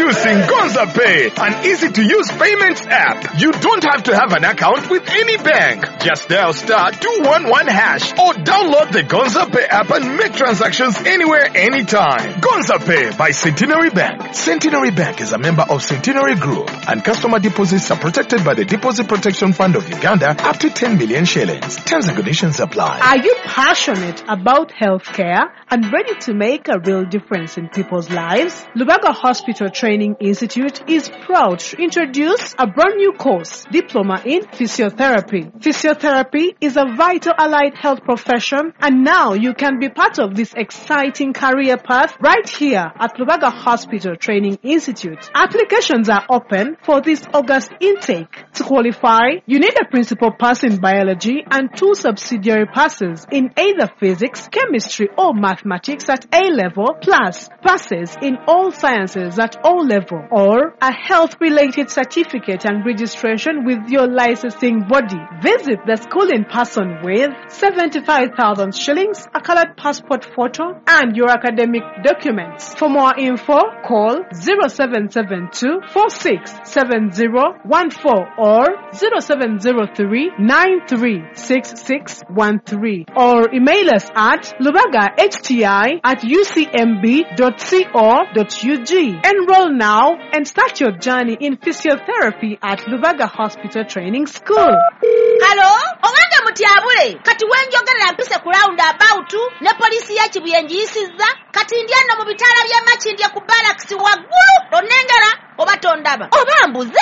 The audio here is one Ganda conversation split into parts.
Introducing Gonza Pay, an easy-to-use payments app. You don't have to have an account with any bank. Just dial *211# or download the Gonza Pay app and make transactions anywhere, anytime. Gonza Pay by Centenary Bank. Centenary Bank is a member of Centenary Group, and customer deposits are protected by the Deposit Protection Fund of Uganda up to 10 million shillings. Terms and conditions apply. Are you passionate about healthcare and ready to make a real difference in people's lives? Lubaga Hospital Training Institute is proud to introduce a brand new course, Diploma in Physiotherapy. Physiotherapy is a vital allied health profession, and now you can be part of this exciting career path right here at Lubaga Hospital Training Institute. Applications are open for this August intake. To qualify, you need a principal pass in biology and 2 subsidiary passes in either physics, chemistry or mathematics at A level, plus passes in all sciences at O level, or a health-related certificate and registration with your licensing body. Visit the school in person with 75,000 shillings, a colored passport photo, and your academic documents. For more info, call 0772 467014 or 0703 936613 or email us at lubagahti@ucmb.co.ug. Enroll now and start your journey in physiotherapy at Lubaga Hospital Training School. Halo, owange mutyabule, kati wenjogerera mpise ku round about ne poliisi ya Kibuye ngiyisizza, kati ndi eno mu bitaala by'e Makindye ku barracks waggulu, onnengera oba tondaba oba mbuze.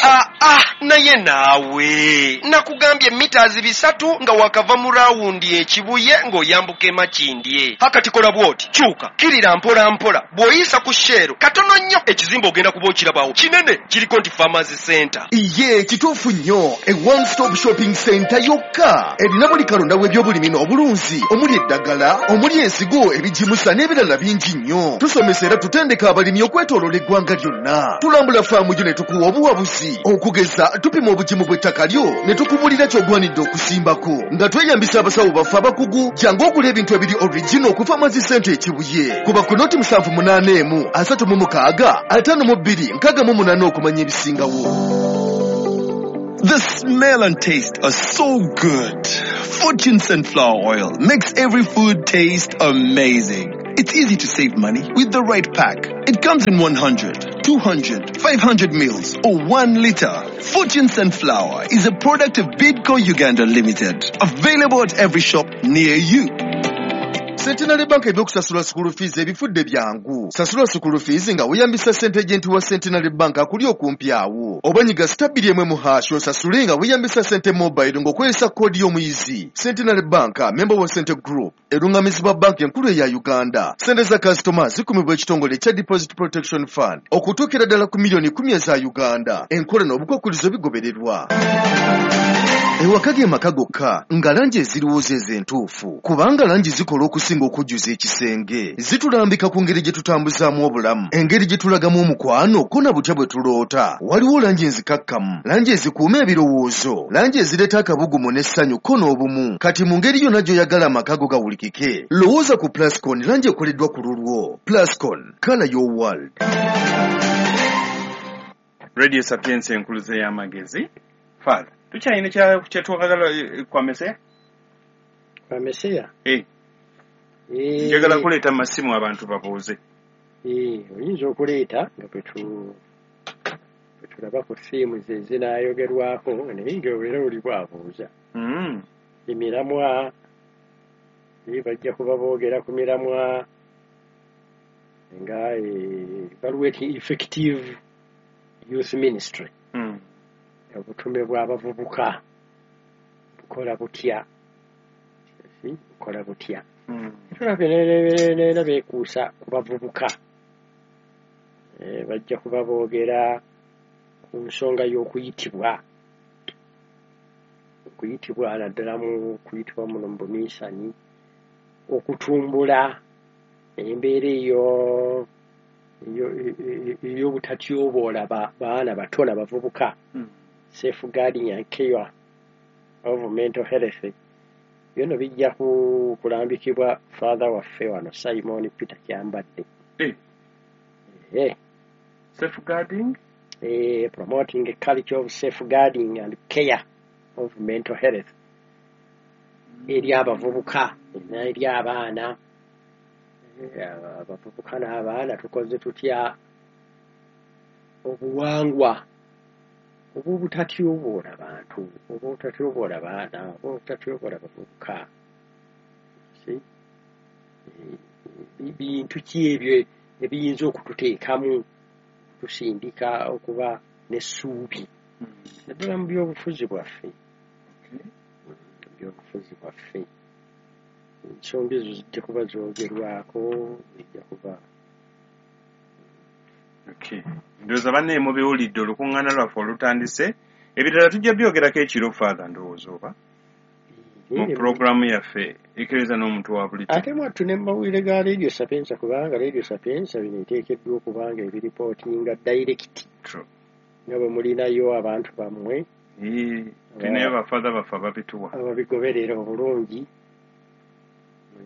Naye naawe nakugambye mita 300 nga wakava mu rawundi e Kibuye ng'oyambuka e Makindye. Hakati kola bw'oti, kyuka kirira mpola mpola, bw'oyisa ku Shell katono nnyo ekizimbe ogenda kuba okirabawo kinene, kiriko nti Farmers Center. Iye kituufu nnyo, e one stop shopping center yokka erina buli kalonda w'ebyobulimi n'obulunzi, omuli eddagala, omuli ensigo, ebigimusa n'ebirala bingi nnyo. Tusomesa era tutendeka abalimi okwetooloola eggwanga lyonna. Tulambula faamu yo ne tukuwa obuwabuzi, okugeza tupima obugimu bw'ettaka lyo ne tukubulira ky'ogwanidde okusimbako nga tweyambisa abasawo baffe abakugu. Jangu ogula ebintu ebiri original ku Farmers Center e Kibuye. Kuba ku noti 781 36 52 68 okumanya ebisingawo. The smell and taste are so good. Fortune Sunflower Oil makes every food taste amazing. It's easy to save money with the right pack. It comes in 100, 200, 500 mils or 1 liter. Fortune Sunflower is a product of Bidco Uganda Limited. Available at every shop near you. Centenary Bank ebyokusasula school fees ebifudde byangu. Sasula school fees nga weeyambisa ssente agent wa Centenary Bank akuli okumpi awo. Oba nyiga *2 # osasule nga weeyambisa ssente mobile ng'okozesa koodi y'omuyizi. Centenary Bank, member wa Sente Group, erungamizibwa banki enkulu eya Uganda. Ssente za kasitoma zikumibwa ekitongole ekya Deposit Protection Fund okutuukira ddala ku miliyoni 10 eza Uganda. Enkola n'obukwakkulizo bigobererwa. Ewaka ge maka gokka nga langi eziriwo ze entuufu, kubanga langi zikola okusinga okujjuza ekisenge. Zitulambika ku ngeri gye tutambuzaamu obulamu, engeri gye tulagamu omukwano, ko na butya bwe tuloota. Waliwo langi enzikakkamu, langi ezikuuma ebirowoozo, langi ezireeta akabugumu n'essanyu ko n'obumu. Kati mu ngeri yonna gy'oyagala amaka go gawulikike, lowooza ku Plascon, langi ekoleddwa ku lulwo. Plascon, colour your world. Radio Sapientia enkuluze y'amagezi. Father, tukyalina kyetwagala kwa Meseya? Kwa Meseya? Njagala kuleeta masimu abantu babuuze. Oyinza okuleeta nga bwe tulaba ku fiimu ze zinaayogerwako, naye ng'era oli bw'abuuza. Emiramwa, bajja kuba boogera ku miramwa nga evaluating effective youth ministry. Obutume bw'abavubuka bukola butya? Bukola butya? Tulabye beekuusa ku bavubuka. Bajja kuba boogera ku nsonga y'okuyitibwa. Okuyitibwa naddala mu kuyitibwa muno mu buminsani, okutumbula embeera eyo ey'obutatyoboola baana bato na bavubuka. Safeguarding and care of mental health. Byono bijja kulambikibwa Father waffe wano Simon Peter Kyambadde. Safeguarding? Promoting a culture of safeguarding and care of mental health eri abavubuka eri abaana. Abavubuka n'abaana tukoze tutya obuwangwa obubutatyoboola bantu, obubutatyoboola baana, obubutatyoboola bavubuka? Bintu ki ebyo ebiyinza okututeekamu tusindika okuba n'essuubi naddala mu byobufuzi bwaffe? Byobufuzi bwaffe ensonga ezo zijja kuba zoogerwako, zijja kuba. Ndowooza bannaye mubiwulidde, olukuŋŋaana lwaffe olutandise. Ebirala tujja byogerako ekiro, Father, ndowooza oba mu puroguramu yaffe Ekereziya n'omuntu wa bulijjo. Ate mwattu ne mumawulire ga Radio Sapientia, kubanga Radio Sapientia bino eteekeddwa okuba nga ebiripootinga direct nga bwe mulinayo abantu bammwe. Tulinayo bafather baffe ababituwa. Ababigoberera obulungi,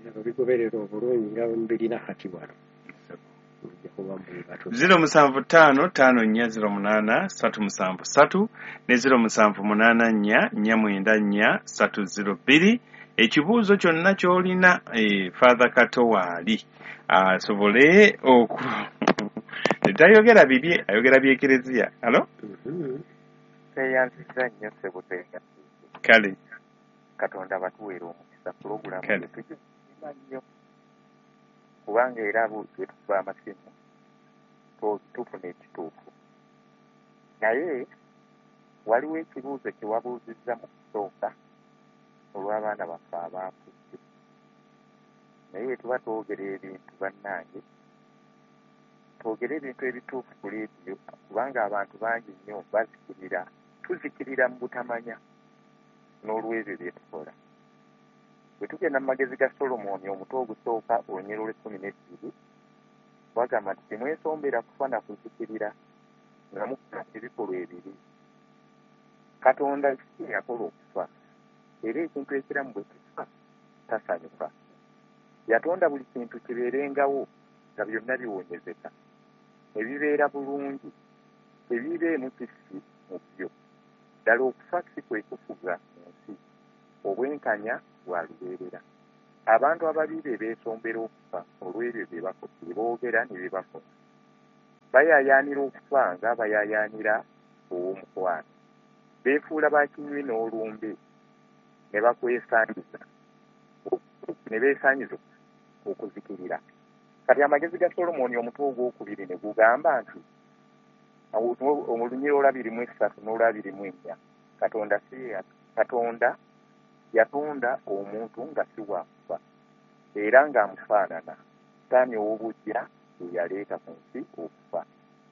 ababigoberera obulungi nga bwe mubirina kati wano. 075 54 08 373 ne 0784 494 302. Ekibuuzo kyonna ky'olina, Father Kato waali asobole oku tayogera bibye, ayogera by'Ekereziya. Alo? Tweyanziza nnyo ssebo, tweyanziza. Kale. Katonda batuweera omukisa, pulogulaamu tugisiima nnyo kubanga era bwe tukuba amasimu tufuna ekituufu. Naye waliwo ekibuuzo kye wabuuzizza mu kusooka olw'abaana baffe abaafudde. Naye bwe tuba twogera ebintu bannange, twogere ebintu ebituufu ku leediyo, kubanga abantu bangi nnyo bazikirira, tuzikirira mu butamanya n'olw'ebyo bye tukola. Bwe tugenda mu magezi ga Solomoni omutwe ogusooka olunyiriri lw'e12, bagamba nti temwesombera kufa na kuzikirira nga mukola ebikolwa ebibi. Katonda si yakola okufa, era ekintu ekiramu bwe kifa tasanyuka. Yatonda buli kintu kibeerengawo nga byonna biwonyezeka, ne bibeera bulungi, tebibeemu kissi mu byo. Ddala okufa si kwe kufuga mu nsi, obwenkanya bwa lubeerera. Abantu ababi be beesombera okufa olw'ebyo bye boogera ne bye bakola. Bayaayaanira okufa nga bayaayaanira ow'omukwano. Beefuula bakinywi n'olumbe ne bakwesanyiza ne beesanyiza okuzikirira. Kati amagezi ga Solomoni omutwe ogwokubiri ne gugamba nti olunyiriri olwa23 n'olwa24, Katonda yatonda omuntu nga si wa kufa era ng'amufaanana. Sitaani ow'obuggya ye yaleeta ku nsi okufa,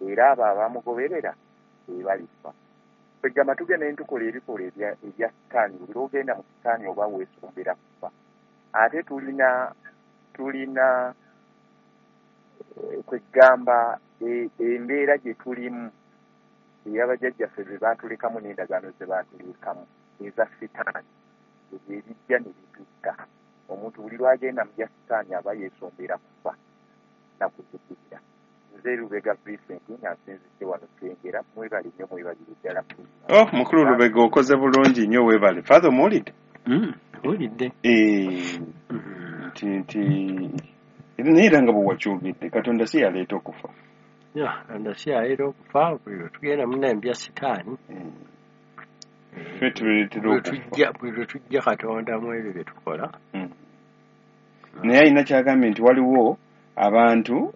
era abo abamugoberera be balifa. Kwegamba tugenda ne tukola ebikolwa ebya Sitaani, buli lw'ogenda mu Sitaani oba weesombera kufa. Ate tulina kwegamba embeera gye tulimu ey'abajjajjaffe be baatulekamu n'endagaano ze baatulekamu eza Sitaani, ebyo ebijja ne bitutta. Omuntu buli lw'agenda mu bya Sitaani aba yeesombera kufa na kuzikirira. Nze Lubega Vincent nga nsinzidde wano Kyengera, mwebale nnyo, mwebalire ddala. Oh, mukulu Lubega okoze bulungi nnyo, weebale. Father omuwulidde? Mpulidde. Nti naye era nga bwe wakyogedde, Katonda si yaleeta okufa. Katonda si yaleeta okufa, buli lwe tugenda munnaye mu bya Sitaani ffe tuleetera okufa. Buli lwe tujja Katonda mu ebyo bye tukola. Naye alina kyagambye nti waliwo abantu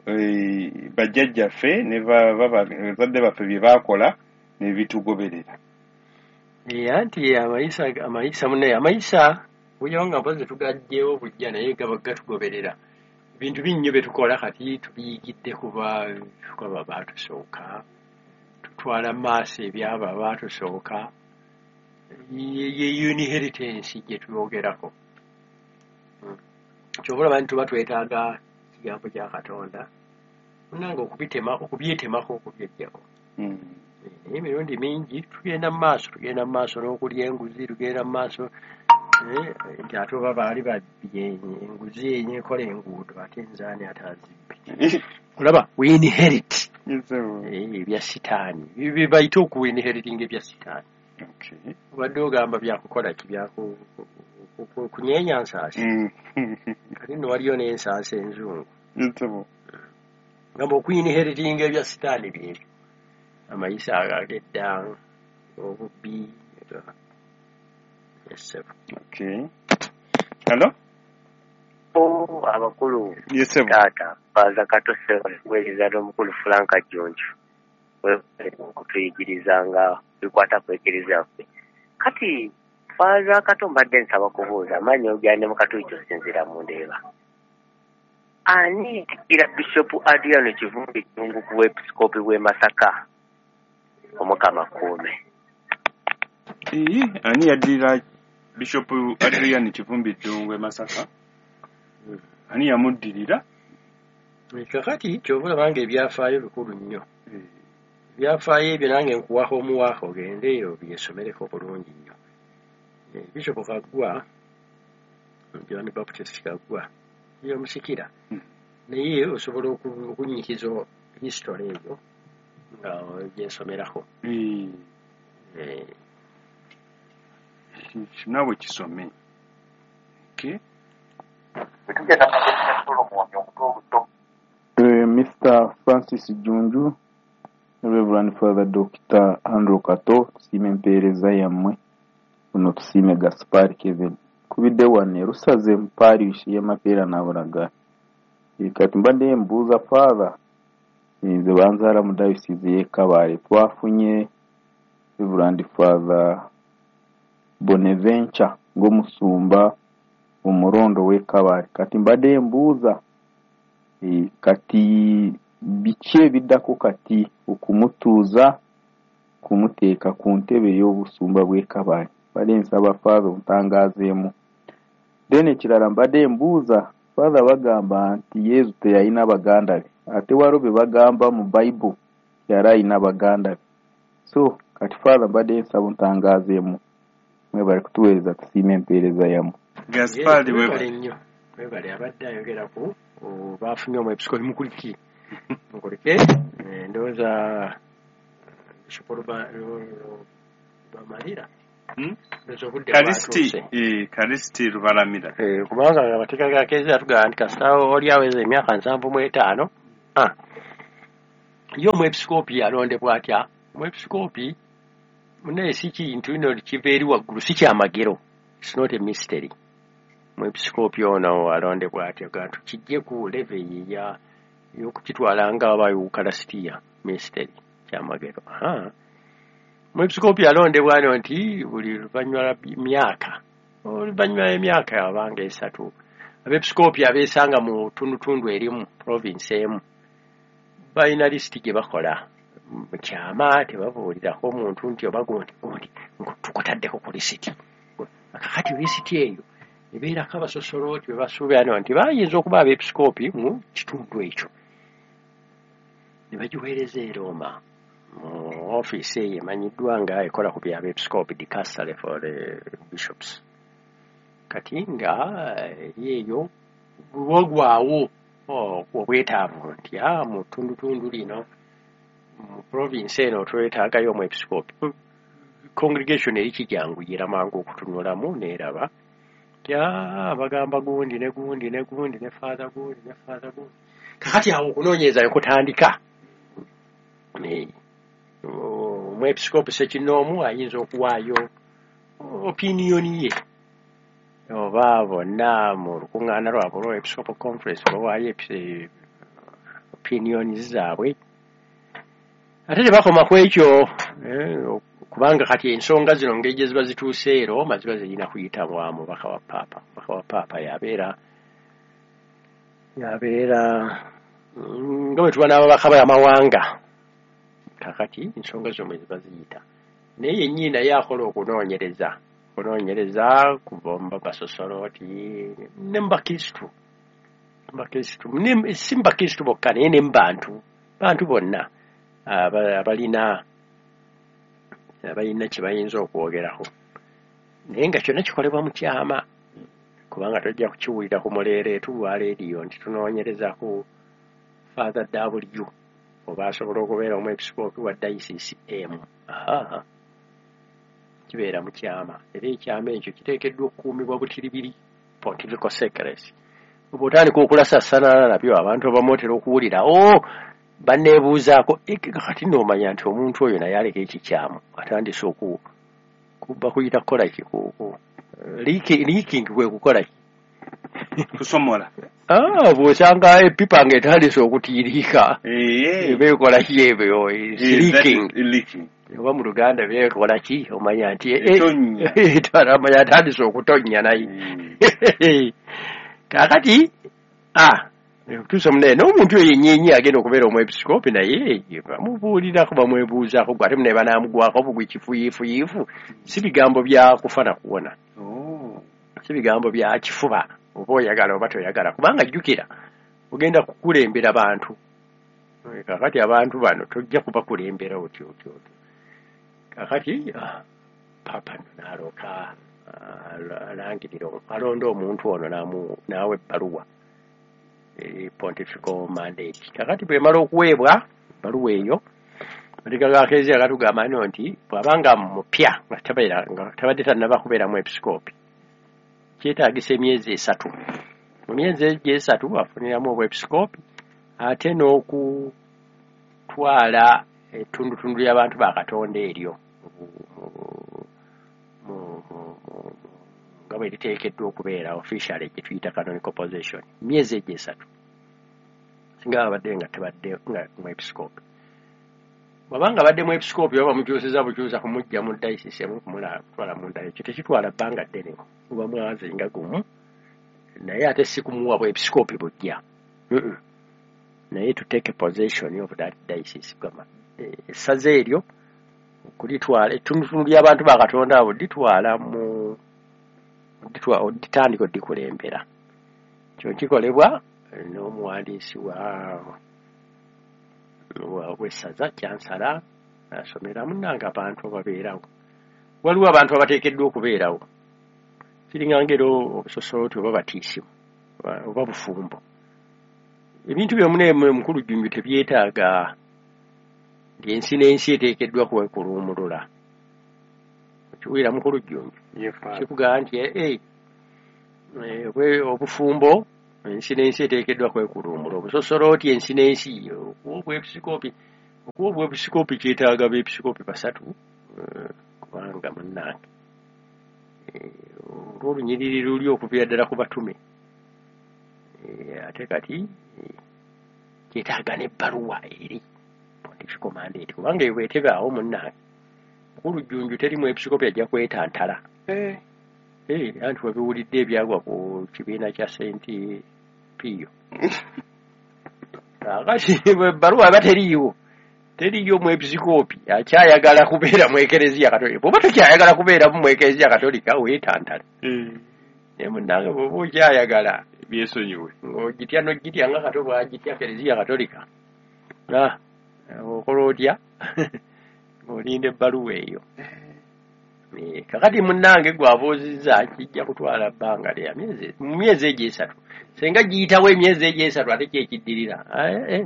bajjajjaffe ne bazadde baffe bye baakola ne bitugoberera. Anti amayisa munnaye, amayisa bulijjo nga mpozi tugaggyewo bujja, naye gaba gatugoberera. Bintu bingi nnyo bye tukola kati tubiyigidde kuba baatusooka, tutwala mu maaso ebyabo abaatusooka. Ye inheritance gye tuyogerako. Kyova olaba nti tuba twetaaga ekigambo kya Katonda munnange okubyetemako, okubyeggyako. Naye emirundi mingi tugenda mu maaso n'okulya enguzi, tugenda mu maaso nti ate oba baali babbye enguzi enyekola enguudo, ate nze ani ate azibbe. Olaba we inherit. Ebya sitaani bye bayita okuinheritinga ebya sitaani. Obadde ogamba byakukola ki? Byakunyeenya nsaasi. Kati nno waliyo n'ensaasi enzungu. Gamba okuinheritinga ebya sitaani byebyo amayisa ago ag'edda, obubbi. Yes. Okay. Hello? Oh, abakulu. Yes, sir. Taata Faaza Kato, weereza n'omukulu Franka Jjonjo okutuyigirizanga bikwata ku ekereziya yaffe. Kati Faaza Kato, mbadde nsaba kubuuza, amaanyi ogyande mu Katuliki osinziira mu Ndeeba, ani yatikkira Bishopu Adriano Kivumbi Ddungu ku bwepisikoopi bw'e Masaka? Omukama kuume. Ii, ani yaddirira Bishop Adrian Kivumbi Ddungu e Masaka? Ani yamuddirira? Kakati kyova olaba nga ebyafaayo bikulu nnyo. Ebyafaayo ebyo nange nkuwaho omuwaako, ogende obyesomereko bulungi nnyo. Bishop Kaggwa, John Baptist Kaggwa, yomusikira, naye osobola okunnyikiza history eyo nga ogyesomerako. Naawe kisome. Okay. Bwe tugenda mu ngeri ya Solomoni omuto obuto. Mr. Francis Junju, Reverend Father Dr. Andrew Kato, tusiime empeereza yammwe. Buno tusiime Gaspar Kevin. Kubidde wano e Rusaze mu parish y'e Mapeera Nabulagala. Kati mbadde mbuuza Father, nze banzaala mu diocese y'e Kabale. Twafunye Reverend Father Bonaventure ng'omusumba omurondo w'e Kabale. Kati mbadde mbuuza, kati biki ebiddako kati okumutuuza kumuteeka ku ntebe y'obusumba bw'e Kabale? Mbadde nsaba Father ontangaazeemu. Then ekirala mbadde mbuuza Father, bagamba nti Yesu teyalina baganda be, ate waliwo be bagamba mu Bible yali alina baganda be. So kati Father mbadde nsaba ontangaazeemu. Mwebale kutuweereza, tusiime empeereza yammwe. Gaspard. Webale nnyo, webale. Abadde ayogera ku bafunye omwepisikoopi. Mukulike, mukulike. Ndowooza Bishop Bamalira. Ndowooza obudde Kalisiti bwatuuse. Kalisiti Lubalamira. Kubanga amateeka ga kereziya tugamba nti kasita oli aweza emyaka 75. Ye omwepisikoopi alondebwa atya? Omwepisikoopi munaye si kintu ino kiva eri waggulu, si kyamagero. It's not a mystery. Omwepisikoopi ono alondebwa atya? Ga tukijje ku level eya y'okukitwala nga aba eukalasitiya mystery, kyamagero. Omwepisikoopi alondebwa ano nti buli luvannyuma lwa myaka, oluvannyuma lw'emyaka abanga 3, abeepisikoopi abeesanga mu tundutundu erimu, province emu, balina lisiti gye bakola mu kyama. Tebabuulirako omuntu nti oba gundi gundi tukutaddeko ku lisiti. Kakati lisiti eyo ebeerako abasosolooti be basuubira no nti bayinza okuba abeepisikoopi mu kitundu ekyo, ne bagiweereza e Roma mu ofiisi eyo emanyiddwa nga ekola ku by'abeepisikoopi, Dicastery for the Bishops. Kati nga eri eyo bwogwawo obwetaavu nti mu ttundutundu lino, mu province eno, twetaagayo omwepisikoopi, congregation eri kijanguyira mangu okutunulamu n'eraba nti bagamba gundi ne gundi ne gundi ne father gundi ne father gundi. Kakati awo okunoonyereza ne kutandika. Omwepisikoopi ssekinnoomu ayinza okuwaayo opinion ye, oba bonna mu lukuŋŋaana lwabwe olwa Episcopal Conference bawaayo opinions zaabwe. Ate tebakoma ku ekyo, kubanga kati ensonga zino ngeri gye ziba zituuse e Roma ziba zirina kuyita wa mubaka wa paapa. Mubaka wa paapa yabeera nga bwe tuba n'ababaka b'amawanga. Kakati ensonga zino mwe ziba ziyita, naye yennyini naye akola okunoonyereza kuva mu basosolooti ne mu bakristu, si mu bakristu bokka, naye ne mu bantu bonna abalina kye bayinza okwogerako, naye nga kyonna kikolebwa mu kyama, kubanga tojja kukiwulira ku muleereetu lwa leediyo nti tunoonyereza ku Father W. oba asobola okubeera omwepisikoopi wa dayisisi emu. Kibeera mu kyama, era ekyama ekyo kiteekeddwa okukuumibwa butiribiri, pontifical secrecy. Oba otandika okulasassanana nabyo, abantu abamu otera okuwulira banneebuuzaako, kati n'omanya nti omuntu oyo naye aleka ekikyamu, atandise bakuyita kukola ki? Leaking kwe kukola ki? Kusomola. Bw'osanga epipa ng'etandise okutiiriika, eba ekola ki ebyo? Leaking. Oba mu Luganda beekola ki? Omanya nti omanya atandise okutonnya naye. Kaakati tuuse munnaye n'omuntu oyo yennyini agenda okubeera omwepisikoopi, naye bamubuulirako, bamwebuuzaako, gwe ate munnaye banaamugwako bugwi kifuyiifuyiifu. Si bigambo bya kufa na kuwona, si bigambo bya kifuba, oba oyagala oba toyagala, kubanga jjukira ogenda kukulembera bantu. Kaakati abantu bano tojja kubakulembera otyo otyo otyo. Kaakati Papa nno n'alooka alangirira, alonda omuntu ono n'awa ebbaluwa, pontifical mandate. Kakati bwemala okuweebwa ebbaluwa eyo, amateeka ga Kereziya gatugamba nno nti bw'abanga mupya nga tabadde tannaba kubeera mwepisikoopi, kyetaagisa emyezi 3. Mu myezi egyo 3 afuniramu obwepisikoopi ate n'okutwala ettundutundu ly'abantu ba Katonda eryo nga bwe liteekeddwa okubeera officially, gye tuyita canonical position. Emyezi egyo 3 singa babadde nga tebadde nga mwepisikoopi. Bw'abanga abadde mwepisikoopi, oba bamukyusiza bukyusa kumuggya mu dayisisi emu kumutwala mu ndala, ekyo tekitwala bbanga ddene, guba mwezi nga gumu, naye ate si kumuwa bwepisikoopi bujja, naye to take a possession of that diocese, essaza eryo okulitwala, ettundutundu ly'abantu ba Katonda abo litwala mu oditandika odikulembera. Kyo kikolebwa n'omuwandiisi w'essaza, kyansala, asomera munnange abantu ababeerawo. Waliwo abantu abateekeddwa okubeerawo, kiringa ngero obusosooti oba batiisimu oba bufumbo. Ebintu byomuna mukulu Jjunju tebyetaaga nti ensi n'ensi eteekeddwa kwekuluumulula. Okiwulira mukulu Jjunju? Kikugamba nti obufumbo ensi n'ensi eteekeddwa kwekuluumula, obusosolooti ensi n'ensi, okuwa obwepisikoopi kyetaaga beepisikoopi 3, kubanga munnange olw'olunyiriri luli okuviira ddala ku batume, ate kati kyetaaga n'ebbaluwa eri pontifical mandate, kubanga eyo bw'etebaawo munnange mukulu Jjunju teri mwepisikoopi ajja kwetantala. Anti wabiwulidde ebyagwa ku kibiina kya Saint Pio. Kaakati ebbaluwa aba teriiwo, teriiyo mwepisikoopi akyayagala kubeera mu Ekereziya Katolika. Bw'oba tokyayagala kubeera mu Ekereziya Katolika weetantala. Naye munnange bw'oba okyayagala byesonyiwe, ng'ogitya n'ogitya nga Kato bw'agitya Kereziya Katolika, okola otya ng'olinda ebbaluwa eyo? Kakati munnange gw'abuuzizza kijja kutwala bbanga lya mu myezi egyo 3. Singa giyitawo emyezi egyo 3 ate kyekiddirira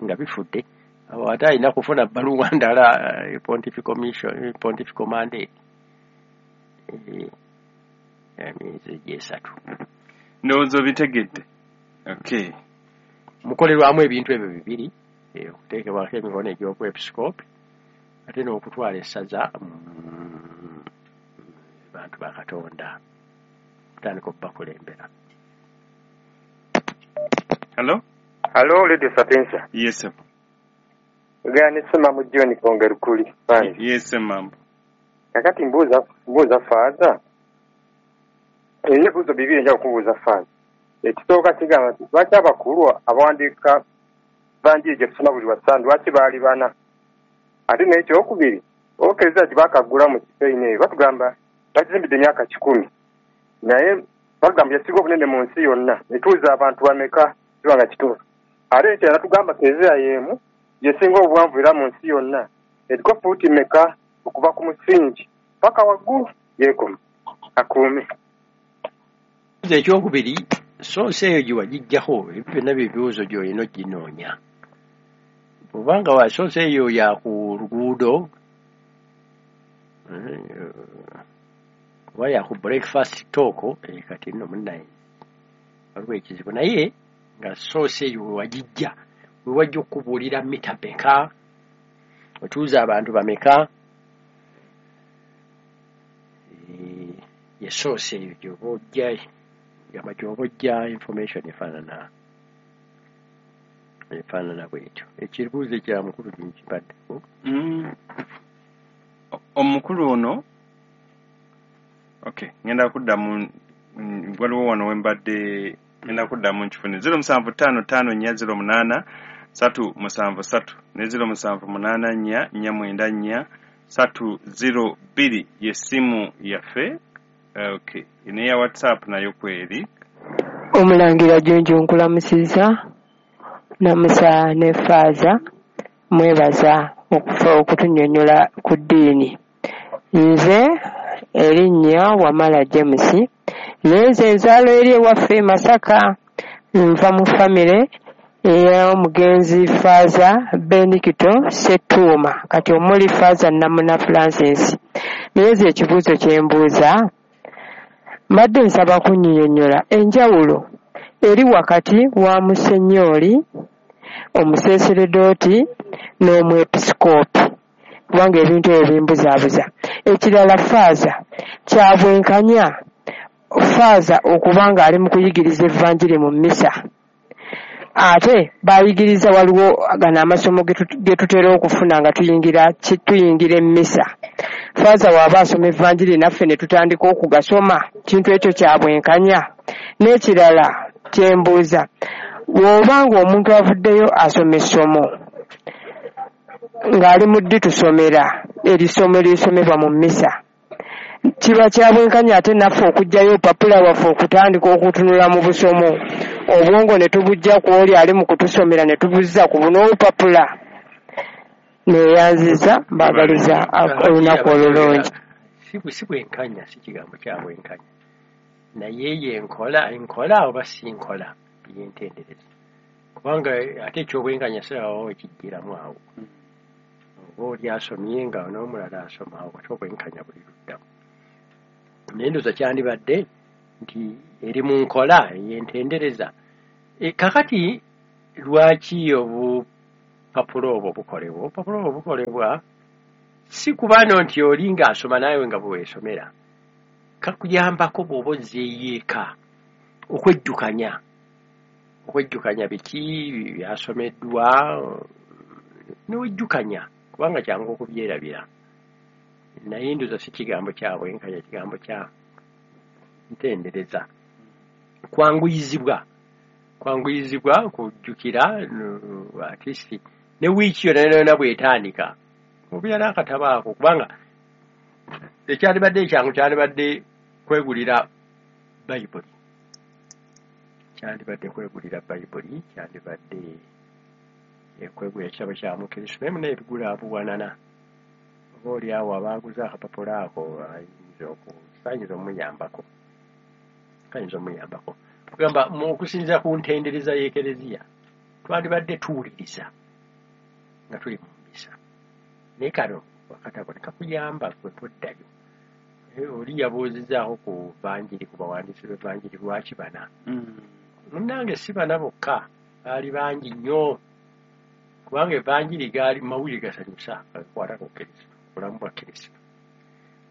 nga bifudde, awo ate alina kufuna bbaluwa ndala, pontifical mission, pontifical mandate, emyezi egyo 3. Ndowooza obitegedde. Okay. Mukolerwamu ebintu ebyo bibiri, okuteekebwako emikono egy'obwepisikoopi ate n'okutwala essaza bantu ba Katonda, okutandika okubakulembera. Hello? Hello, Radio Sapientia. Yes, sir. Gani sema mu John Kongerukuli. Yes, ma'am. Kakati mbuuza Father. Ebibuuzo bibiri nja kubuuza Father. Ekisooka kigamba nti lwaki abakulu abawandiika vanjiri gye tusoma buli wa Ssande lwaki baali bana? Ate n'ekyokubiri, Ekereziya gye baakaggula mu kifo eyo batugamba bagizimbidde emyaka 100, naye batugamba yasinga obunene mu nsi yonna, etuuza abantu bameka kiba nga kituufu. Ate ekirala tugamba Kereziya y'emu yesinga obuwanvu era mu nsi yonna, eriko fuuti meka okuva ku musingi paka waggulu yeekoma akuume. Ekyokubiri, soosi eyo gye wagiggyako, ebyo byonna bye bibuuzo gy'olina oginoonya. Bw'obanga wa source eyo ya ku luguudo oba ya ku breakfast talk, kati nno munnaye waliwo ekizibu. Naye nga source eyo we wagijja, we wajja okukubuulira mita meka, otuuza abantu bameka, ye source eyo gy'oba ojja, gamba gy'oba ojja information efaanana bwetyo. Ekibuuzo ekya mukulu nkibaddeko. Omukulu ono, okay, ngenda kuddamu, waliwo wano we mbadde ngenda kuddamu nkifune. 075540 373 ne 0784 494 302 ye simu yaffe. Okay, neya WhatsApp nayo kweri. Omulangira Junju nkulamusizza, namusa ne Faaza, mwebaza okufa okutunnyonnyola ku ddiini. Nze erinnya Wamala James, naye nze nzaalo eri ewaffe e Masaka, nva mu famire ey'omugenzi Faaza Benedicto Ssettuuma, kati omuli Faaza Namuna Francis. Naye nze ekibuuzo kye mbuuza, mbadde nsaba kunnyonnyola enjawulo eri wakati wa musennyoli, omuseeseredooti n'omwepisikoopi, kubanga ebintu ebyo bimbuzaabuza. Ekirala Faaza, kya bwenkanya Faaza okuba ng'ali mu kuyigiriza evvanjiri mu mmisa, ate bayigiriza waliwo gano amasomo ge tutera okufuna nga tuyingira emmisa. Faaza w'aba asoma evvanjiri naffe ne tutandika okugasoma, kintu ekyo kya bwenkanya. N'ekirala kye mbuuza, bw'oba ng'omuntu avuddeyo asoma essomo ng'ali mu ddi tusomera erisomo erisomebwa mu mmisa, kiba kya bwenkanya ate naffe okuggyayo opapula waffe okutandika okutunula mu busomo, obwongo ne tubujja ku oli ali mu kutusomera ne tubuzza ku buno obupapula? Neeyanziza, mbaagaliza olunaku olulungi. Si bwenkanya, si kigambo kya bwenkanya, naye ye nkola oba si nkola yentendereza, kubanga ate ekyobwenkanya sirawo ekijjiramu awo. Oba oli asomye nga n'omulala asoma, awo ate obwenkanya buli luddamu. Naye ndowooza kyandibadde nti eri mu nkola eyentendereza. Kakati lwaki obupapula obwo bukolebwa? Obupapula obwo bukolebwa si kuba no nti oli ng'asoma naawe nga bwe weesomera, kakuyambako bw'oba ozzeeyo eka okwejjukanya biki byasomeddwa, newejjukanya, kubanga kyangu okubyerabira. Naye ndowooza si kigambo kya bwenkanya, kigambo kya ntendereza, kwanguyizibwa kujjukira at least ne wiiki yonna yonna bw'etandika obeera n'akatabo ako, kubanga ekyandibadde ekyangu kyandibadde kwegulira Bayibuli, kyandibadde kwegulira ekitabo kya Mukristo, naye munaye ebigula buwanana. Oba oli awo abaaguza akapapula ako ayinza omuyambako, kugamba okusinziira ku ntendereza y'Ekereziya twandibadde tuwuliriza nga tuli mu mmisa, naye kano akatabo ne kakuyamba gwe toddayo. Oli yabuuzizzaako ku vanjiri, ku bawandiisi b'evanjiri lwaki bana? Munnange si bana bokka, baali bangi nnyo, kubanga evanjiri gaali mawulire gasanyusa agakwata ku Kristo, bulamu bwa Kristo.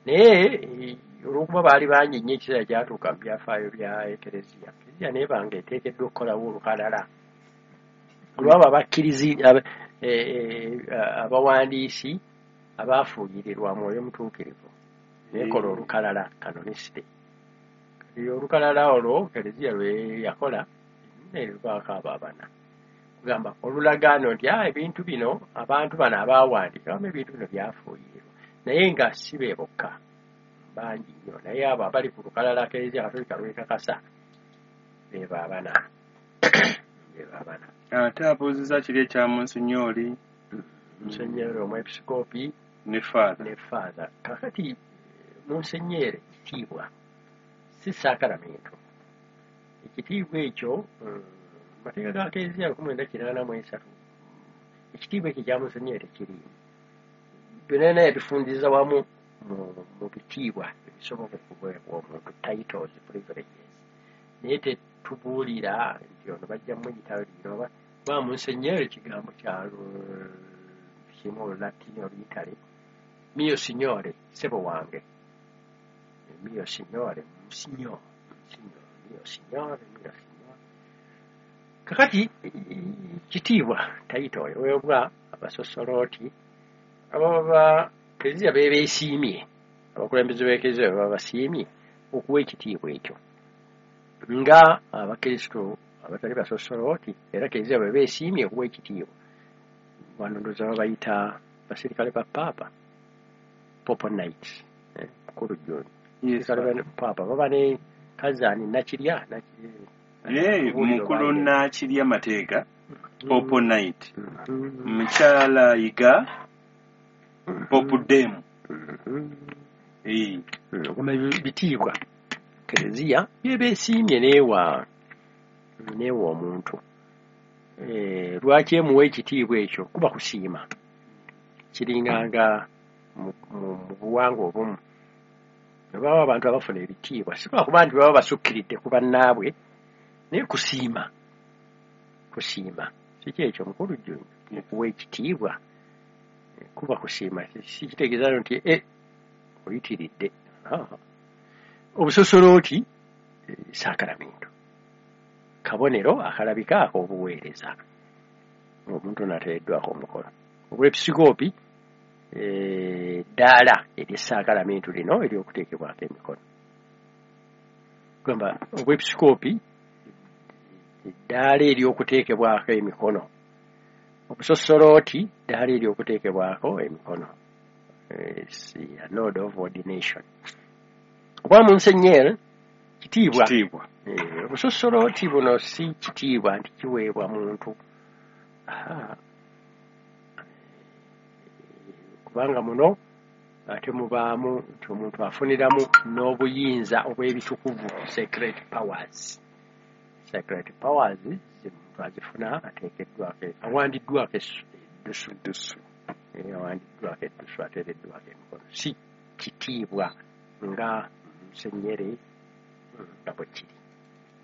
Naye olw'okuba baali bangi nnyo, ekiseera kyatuuka mu byafaayo bya Ekereziya, Ekereziya n'ebanga eteekeddwa okukolawo olukalala olw'abo abakkirizi abawandiisi abaafuuyirirwa Mwoyo Mutuukirivu, neekola olukalala kanonisite. Kati olukalala olwo Ekereziya lwe yakola ne luvaako abo abana, kugamba olulagaano nti ebintu bino abantu bano abaawandiika abamu ebintu bino byafuuyirirwa, naye nga si be bokka, bangi nnyo. Naye abo abali ku lukalala Ekereziya Katolika lwekakasa be baabana. Ate abuuzizza kiri ekya Munsinyooli, Munsinyooli omwepisikoopi ne Faaza. Kakati Munsinyooli kitiibwa, si saakalamentu. Ekitiibwa ekyo mateeka ga Kereziya 1983 Ekitiibwa ekyo ekya Munsenyeri tekiriimu. Byonna byonna yabifundiza wamu mu bitiibwa ebisobola okuweebwa omuntu, titles, privileges. Naye tetubuulira nti ono bajja muyita lino oba kuba Munsenyeri kigambo kya kimu Olulatini, Oluyitale, mio signore, ssebo wange. Mio signore, monsignor, monsignor, mio signore, mio signore. Kakati kitiibwa title eweebwa abasosolooti ababa Kereziya bebeesiimye, abakulembeze b'Ekereziya bwe baba basiimye okuwa ekitiibwa ekyo, nga Abakristo abatali basosolooti era Kereziya bwe beesiimye okuwa ekitiibwa. Wano ndowooza babayita basirikale ba Paapa, Papal Knights, mukulu John. Basirikale ba Paapa baba ne Kazaani Nakirya. Mukulu Nakirya Mateeka, Papal Knight, Mukyala Yiga, Pope Dame. Ogamba bitiibwa Kereziya byebeesiimye neewa omuntu. Lwaki emuwa ekitiibwa ekyo? Kuba kusiima. Kiringanga mu buwangwa obumu baba abantu abafuna ebitiibwa si lwakuba nti baba basukkiridde ku bannaabwe, naye kusiima. Kusiima si kyekyo mukulu Jjunju, okuwa ekitiibwa kuba kusiima, si kitegeeza nti oyitiridde. Obusosolooti saakalamentu, kabonero akalabika ak'obuweereza omuntu n'ateereddwako omukono. Obwepisikoopi ddaala ery'essaakalamentu lino ery'okuteekebwako emikono. Gamba obwepisikoopi ddaala ery'okuteekebwako emikono, obusosolooti ddaala ery'okuteekebwako emikono, a node of ordination. Obwa Munsenyeri kitiibwa. Obusosolooti buno si kitiibwa nti kiweebwa muntu, kubanga muno ate mubaamu nti omuntu afuniramu n'obuyinza obw'ebitukuvu, sacred powers. Sacred powers omuntu azifuna ateekeddwako, awandiddwako eddusu, awandiddwako eddusu, ateereddwako emikono. Si kitiibwa nga Munsenyeri nga bwe kiri.